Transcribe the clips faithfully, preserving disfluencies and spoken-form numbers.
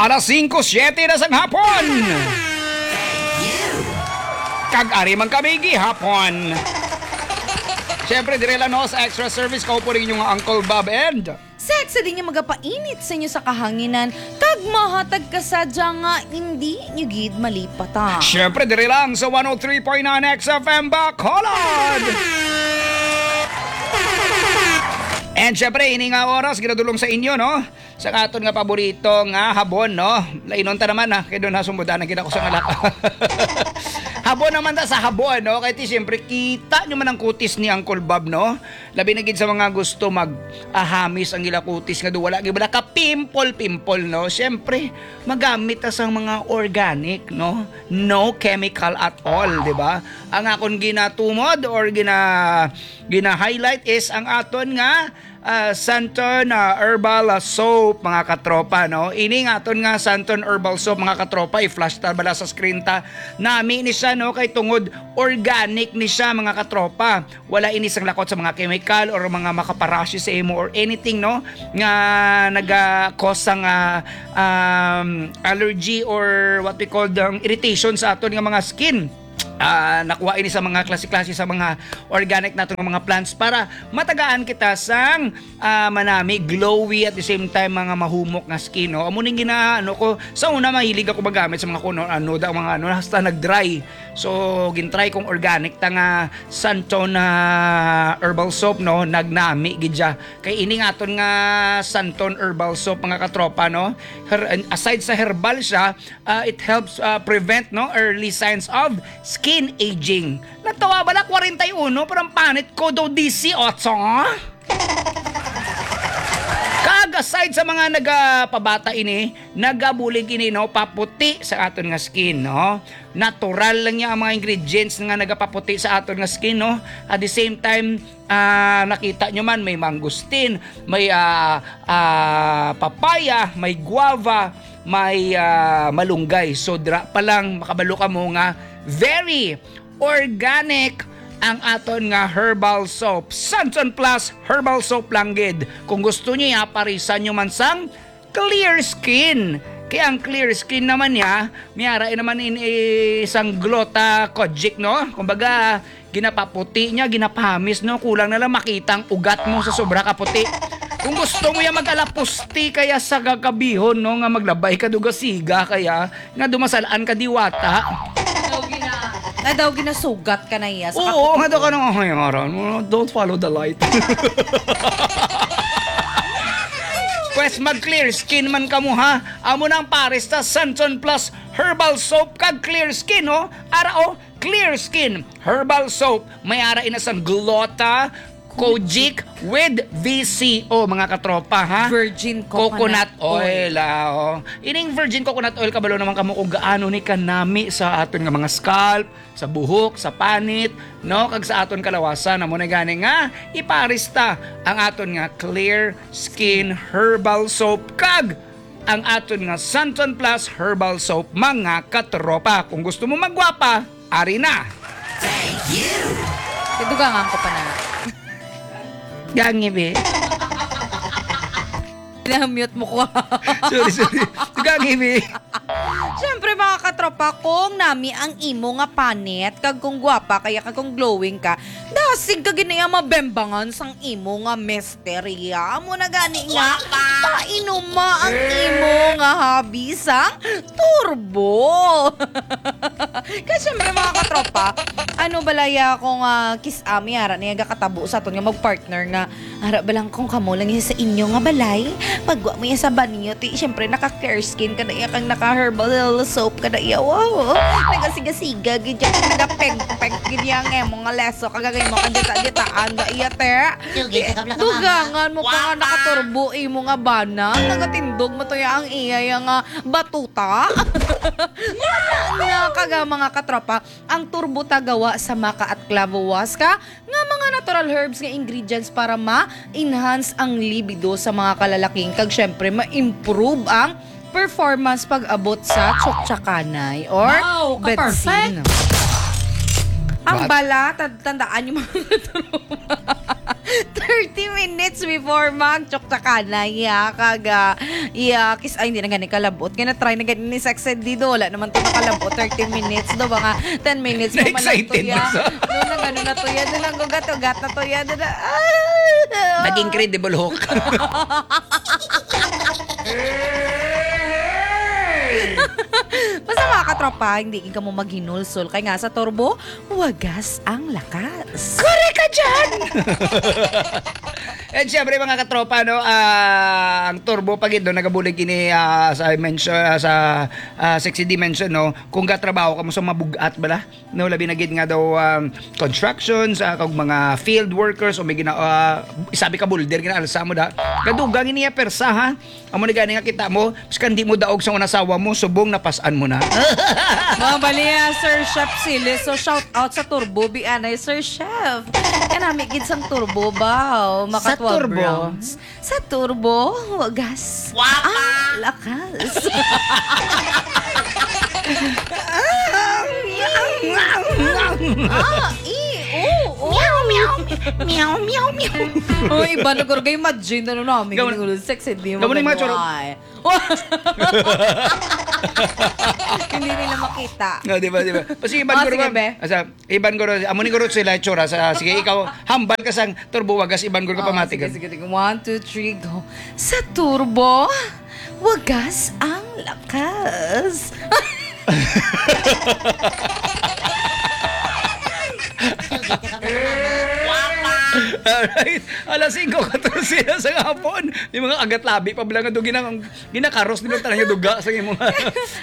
Alas singko siyete na sang hapon. Kag ari man kami gihapon. Siyempre, dire lang, no, sa Extra Service, kaupo rin yung Uncle Bob and Sexy din yung magapainit sa inyo sa kahanginan, kag mahatag ka sadya nga hindi nyo gid malipatan. Siyempre, dire lang sa one oh three point nine X F M Bacolod. And siyempre, ini nga oras, ginadulong sa inyo, no? Sa aton nga paborito nga habon, no? Lainon ta naman, ha? Kay doon, ha, sumudan na gid ako sa ngalak. Habon naman ta sa habon, no? Kay ti, siyempre, kita nyo man ang kutis ni Uncle Bob, no? Labi na gid sa mga gusto mag, ah, hamis ang ila kutis nga do wala gid bala ka pimple-pimple, no? Siyempre, magamit ta sang mga organic, no? No chemical at all, di ba? Ang akon ginatumod or gina-, gina-highlight is ang aton nga, ah, Santon, ah, herbal, ah, soap, mga katropa, no? Ini nga aton nga Santon herbal soap, mga katropa, i-flash ta bala sa screen ta. Nami ni siya, no? Kay tungod organic ni siya, mga katropa. Wala ini sang lakot sa mga chemical or mga makaparashi sa imo or anything, no, nga naga-cause sang, ah, um, allergy or what we call the irritation sa aton nga mga skin. Ah, nakuha ini sa mga klase-klase sa mga organic naton nga mga plants para matagaan kita sang, ah, manami, glowy, at the same time mga mahumok nga skin, no? Amo ning ginaano ko sa una, mahilig ako magamit sa mga kuno ano da mga ano, hasta nag-dry. So, gintry kong organic ta nga Santon na herbal soap, no? Nagnami gid siya. Kay ini nga aton nga Santon herbal soap, mga katropa, no? Her-, aside sa herbal siya, ah, it helps, ah, prevent, no, early signs of skin aging. Natawa bala, kwarenta y uno, pero ang panit ko daw disiotso. Kag aside sa mga nagapabata ini, nagabulig ini, no, paputi sa aton nga skin, no? Natural lang niya ang mga ingredients nga nagapaputi sa aton nga skin, no? At the same time, ah, nakita nyo man, may mangosteen, may, ah, ah, papaya, may guava, may, ah, malunggay. So, dira pa lang, makabalo ka mo nga very organic ang aton nga herbal soap. Santon Plus Herbal Soap lang gid. Kung gusto niya, parisan nyo man sang clear skin. Kaya ang clear skin naman niya, may ara naman in isang glota kojic, no? Kumbaga, ginapaputi niya, ginapahamis, no? Kulang na lang makita ang ugat mo sa sobra ka puti. Kung gusto mo yan, mag-alapusti kaya sa gagabihon, no? Nga maglabay ka, dugasiga kaya, nga dumasalaan ka diwata. Daw gina- Na daw ginasugat ka na iya sa Oo, kaputi. Nga daw ka nang, "Ay, aral mo, don't follow the light." Pwes mag-clear skin man ka mo, ha? Amo nang pares ta, Santon Plus Herbal Soap kag Clear Skin, oh. Ara, oh, Clear Skin Herbal Soap. May ara ina sang glota, kojic with V C O, mga katropa, ha? Virgin coconut Coconut oil. oil, ah, oh. Ining virgin coconut oil, kabalo naman kamo kung gaano ni kanami sa aton nga mga scalp, sa buhok, sa panit, no? Kag sa aton kalawasan. Amo na gani nga ipares ta ang aton nga Clear Skin Herbal Soap kag ang aton nga Santon Plus Herbal Soap, mga katropa. Kung gusto mo magwapa, ari na. Kadugangan ko pa na. Gangi, be. Na-mute mo ko. Sorry, sorry. Gangi, be. Siyempre, mga katropa, kung nami ang imo nga panit, kag kung gwapa kaya, kag kung glowing ka, dasig ka gid niya mabembangan sang imo nga misterya. Amo na gani nga, Gwapa! painuma ang imo nga hobby sang turbo. Kaya siyempre, mga katropa, ano balaya kung, ah, kis-, ah, may ara niya gakatabo sa aton nga mag-partner nga ara ba lang kung kamo lang iya sa inyo nga balay? Pagwa mo iya sa banyo, ti, siyempre, naka-clear skin ka na iya, kang naka-herbal soap ka na iya. Wow! Nagasiga-siga, gid yan. Nagapeg-peg, gid yan, eh, mga leso, kagagay mo, kang dita-ditaan, da iya, te. Sugi, kakabla ka, mama. Dugangan mo pa nga Wapa! nakaturbo, imo nga bana. Nagatindog mo to ya ang iya, ya nga batuta. Wala na, kaga, mga katropa. Ang turbo ta gawa sa maca at clavo huasca nga mga natural herbs nga ingredients para ma-enhance ang libido sa mga kalalaking, kag syempre ma-improve ang performance pag-abot sa tsuktsakanay or Wow, ka-perfect! betsin. Ang What? bala, tan-, tandaan yung mga Thirty minutes before mag-chokchakana, iya, kag, ah, iya, kis-, ay, hindi na gani kalabot. Kaya na-try na gani ni Sexy D, do, wala naman to nakalabot. Thirty minutes, do, mga ten minutes mo man lang to, Na-excited iya. na sa Do, nag-ano na to, iya, do, nag-ugat-ugat na to, iya, do, na, ah! Naging Incredible Hulk. Basta, mga katropa, hindi ka mo maghinulsol. Kaya nga sa turbo, wagas ang lakas. Correct ka dyan! And syempre, mga katropa, no, ah, ang turbo pa gid, no, nagabulig ini, ah, sa mention, ah, sa, ah, Sexy D mention, no, kung gatrabaho ka mo sa mabugat bala, no, labi na gid nga daw, um, constructions, ah, kag mga field workers o may gina-, ah, isabi ka boulder, ginaalsa mo da. Gadugang ini iya persa, ha? Amo ni gani nga kita mo, bisan di mo daog sa una asawa mo, subong napas-an mo na. Mga bali, ah, Sir Chef Silis. So, shout out sa Turbo, bi anay, Sir Chef. Kanami gid sang Turbo ba? Oh, maka Sa twelve Turbo. rounds. Sa Turbo, wagas. Wapa! Ah, lakas. Ah, i, o, o. Meow, meow, meow, meow, meow. Oh, iba na guro kay imagine, ano namin, Gawin-, yung sexy, di mo gawin yung mga choro- ganun, ay. Hindi nila makita. No, di ba, di ba? Kasi iban Oh, ko sige, naman, be. asa, iban ko rin, amo ni ko rin sila itsura sa, sige, ikaw, hambal ka sang Turbo, wagas, iban ko ka Oh, pamati sige, ka. sige, sige. One, two, three, go. Sa Turbo, wagas ang lakas. Alright. Alas singko katorse na sa hapon. Yung mga agat labi pa bala nga doon ginang-, ginakaros nila tanan nga duga sa imo.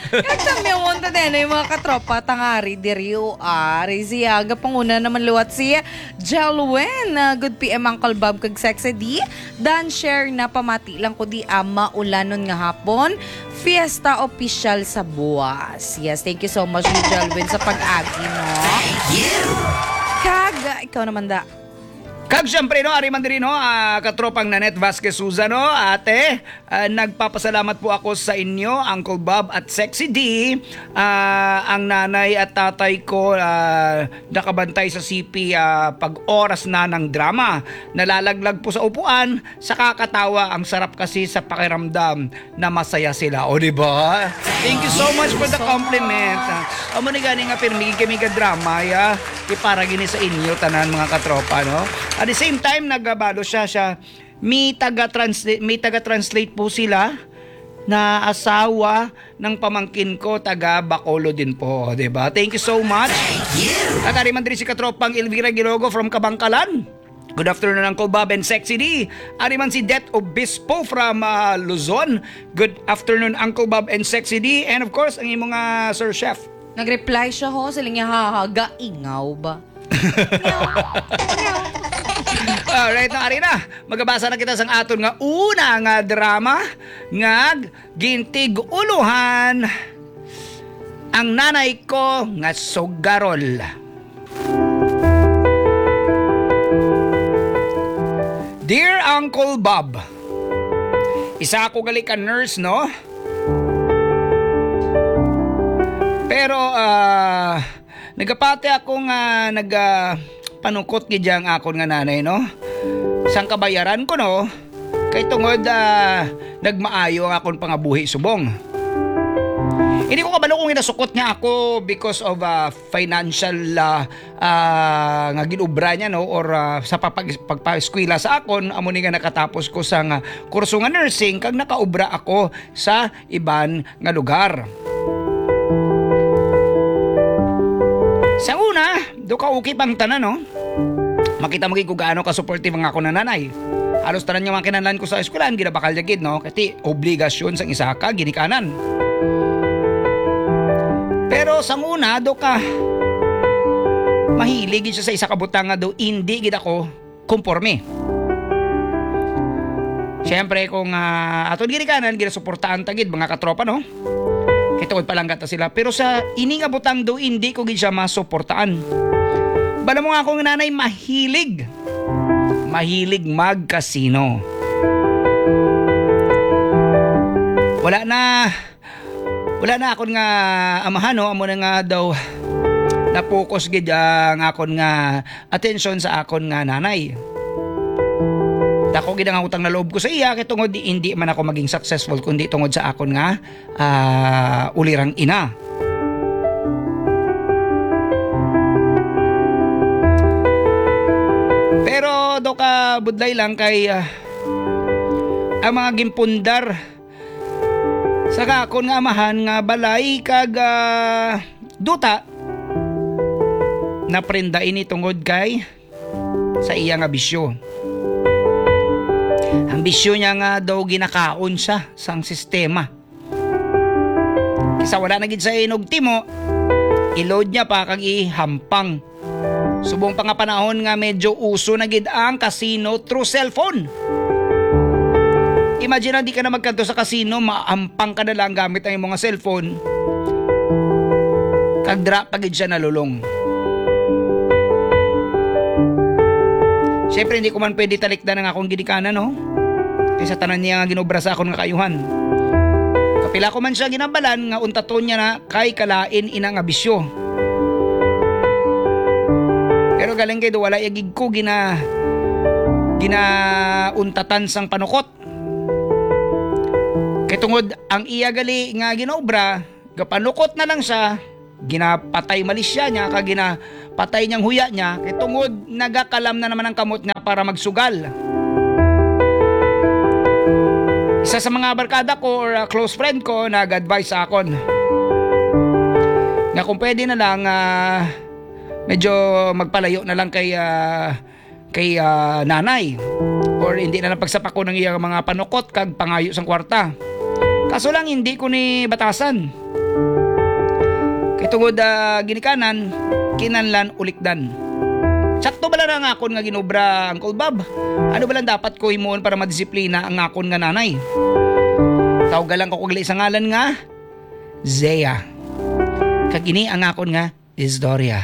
Kagtamiawon ta din, yung mga katropa, tangari, diri, o, ari, siya, gapanguna naman liwat si Jelwin. Ah, good P M, Uncle Bob, kag Sexy D. Dan share na pamati lang ko di, ah, maulanon nga hapon. Fiesta official sa buwas. Yes, thank you so much, Jelwin, sa pag-agi, no? Kag, ikaw naman da. Kag syempre, no, ari man diri, no, ah, katropang Nanette Vasquez Souza, no, ate, ah, nagpapasalamat po ako sa inyo, Uncle Bob at Sexy D. Ah, ang nanay at tatay ko, ah, nakabantay sa C P, ah, pag oras na ng drama. Nalalaglag po sa upuan, sa kakatawa, ang sarap kasi sa pakiramdam na masaya sila. O, di ba? Thank you so much for the compliment. Ah, amo ni gani nga pirmi kami ga drama, ya. Di para gini sa inyo tanan, mga katropa, no? At the same time, nagabalo siya, siya, may taga-translate, may taga-translate po sila na asawa ng pamangkin ko, taga Bacolod din po, di ba? Thank you so much. At ari man diri si katropang Elvira Gilogo from Kabangkalan. Good afternoon, Uncle Bob and Sexy D. Ari man si Det Obispo from, ah, Luzon. Good afternoon, Uncle Bob and Sexy D. And of course, ang imo nga Sir Chef. Nag-reply siya, ho. Sila niya, ha, ha, gaingaw ba? Alright, no, ari na. Magabasa na kita sang aton nga una nga drama nga gintig-ulohan, Ang Nanay Ko nga Sugarol. Dear Uncle Bob, isa ako gali ka nurse, no? Pero, ah, nagapati ako nga nag, ah, panukot gid ang akon nga nanay, no? Sang kabayaran ko, no? Kay tungod, ah, nagmaayo ang akon pangabuhi subong. Hindi ko kabalo kung ginasukot niya ako because of, ah, financial, ah, ah, nga ginubra niya, no? Or, ah, sa papag-, pagpaeskwela sa akon, amo ni nga nakatapos ko sa nga kurso nga nursing, kag nakaubra ako sa iban nga lugar. Sa una, do ka okay pang tanan, no? Makita mo gid kung gaano ka supportive ang ako na nanay. Halos tanan nga mga kinahanglan ko sa eskwelahan, ginabakal niya gid, no? Kasi obligasyon sang isa ka ginikanan. Pero sa una, do ka mahilig gid siya sa isa ka butang nga do hindi gid ako komporme. Siyempre, kung, ah, aton ginikanan, ginasuportaan ta gid, mga katropa, no? Kay tuod pa lang gata sila. Pero sa ini nga butang do, hindi ko gid siya masuportaan. Bala mo nga akong nanay, mahilig. Mahilig mag-casino. Wala na. Wala na akon nga amahan, no? Amo na nga daw na-focus gid ang akon nga atensyon sa akon nga nanay. Dako gid ang utang na loob ko sa iya, kay tungod di, hindi man ako maging successful, kundi tungod sa akon nga, ah, ulirang ina. Pero daw ka budlay lang kay, ah, ang mga gimpundar sa akon nga amahan nga balay kag, ah, duta, naprenda ini tungod kay sa iya nga bisyo. Ang bisyo niya nga daw ginakaon siya sang sistema. Kisa wala na gid sa inugtimo, i-load niya pa kag ihampang. Subong pa nga panahon nga medyo uso na gid ang casino through cellphone. Imagine na di ka na magkadto sa casino, maampang ka na lang gamit ang imong cellphone. Kag dira pa gid siya nalulong. Siyempre, hindi ko man pwede talikdan ang akong ginikanan, no? Kay sa tanan niya nga ginobra sa akon nga kaayuhan. Kapila ko man siya ginabalan nga untaton niya na kay kalain ina nga bisyo. Pero galing kay do wala ya gid ko gina-, ginauntatan sang panukot. Kay tungod ang iya gali nga ginobra, gapanukot na lang siya, ginapatay malisya niya, kag ginapatay niyang huya niya, kay tungod nagakalam na naman ang kamot niya para magsugal. Isa sa mga barkada ko or, ah, close friend ko nag-advise sa akon nga kung pwede na lang, ah, medyo magpalayo na lang kay, ah, kay, ah, nanay, or hindi na lang pagsapakon ang iyang mga panukot kag pangayo sang kwarta. Kaso lang, hindi ko ni batasan. Kay tungod, ah, ginikanan, kinahanglan ulikdan. Sakto bala na ang akon nga ginobra, Uncle Bob? Ano bala ang dapat ko himuon para madisiplina ang akon nga nanay? Tawga lang ko kag sa ngalan nga Zea. Kag ini ang akon nga istorya.